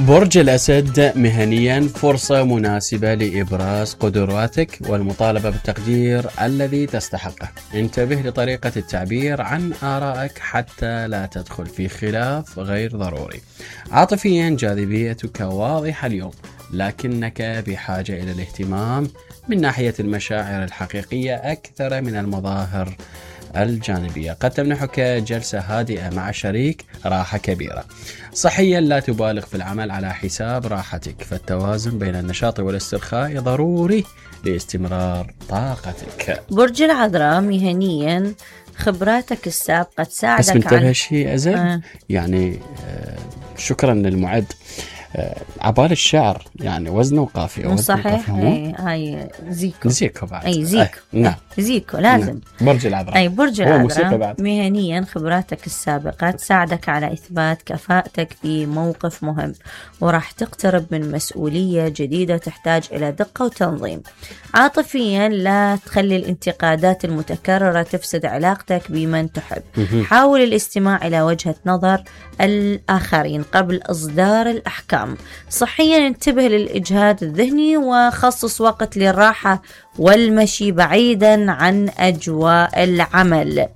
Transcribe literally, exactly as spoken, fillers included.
برج الأسد مهنيا فرصة مناسبة لإبراز قدراتك والمطالبة بالتقدير الذي تستحقه. انتبه لطريقة التعبير عن آرائك حتى لا تدخل في خلاف غير ضروري. عاطفيا جاذبيتك واضحة اليوم، لكنك بحاجة إلى الاهتمام من ناحية المشاعر الحقيقية أكثر من المظاهر الجانبية. قد تمنحك جلسة هادئة مع شريك راحة كبيرة. صحيا لا تبالغ في العمل على حساب راحتك، فالتوازن بين النشاط والاسترخاء ضروري لاستمرار طاقتك. برج العذراء مهنيا خبراتك السابقة تساعدك. بس منتبه شيء أزل آه. يعني آه شكرا للمعد. آه عبال الشعر يعني وزنه وقافية. صحيح. اي هاي زيكو زيكو بعد. اي زيكو. آه. نعم زيكو لازم. نعم. برج العذراء. اي برج العذراء مهنيا خبراتك السابقة تساعدك على اثبات كفاءتك في موقف مهم، وراح تقترب من مسؤولية جديدة تحتاج الى دقة وتنظيم. عاطفيا لا تخلي الانتقادات المتكررة تفسد علاقتك بمن تحب. حاول الاستماع الى وجهة نظر الآخرين قبل إصدار الأحكام. صحيا انتبه للإجهاد الذهني وخصص وقت للراحة والمشي بعيدا عن أجواء العمل.